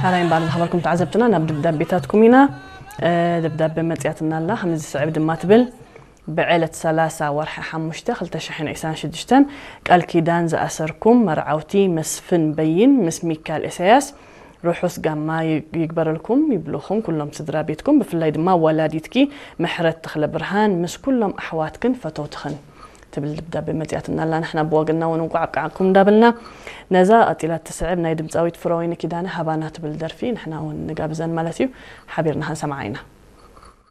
ሓራይ እምበኣር ዝኸበርኩም ተዓዘብትና ናብ ደብዳቤታትኩም ኢና። ደብዳቤ መፅያትና ኣላ ከምዚ ዝስዕብ ድማ ትብል። ብዕለት ሰላሳ ወርሒ ሓሙሽተ ክልተ ሽሕን ዕስራን ሽዱሽተን ቃል ኪዳን ዝኣሰርኩም መርዓውቲ መስፍን በይን ምስ ሚካል ኢሳያስ ርሑስ ጋማ ይግበረልኩም ይብልኹም ኩሎም ስድራ ቤትኩም፣ ብፍላይ ድማ ወላዲትኪ ምሕረት ተኽለ ብርሃን ምስ ኩሎም ኣሕዋትክን ፈተውትኽን ትብል ደብዳቤ መፅያትና ኣላ። ንሕና ብወገንና እውን እንቋዕ ኣብቃዓኩም እንዳበልና ነዛ ቀፂላ እትስዕብ ናይ ድምፃዊት ፍረወይኒ ኪዳነ ሃባና ትብል ደርፊ ንሕና እውን ንጋብዘን ማለት እዩ። ሓቢርና ክንሰምዓ ኢና።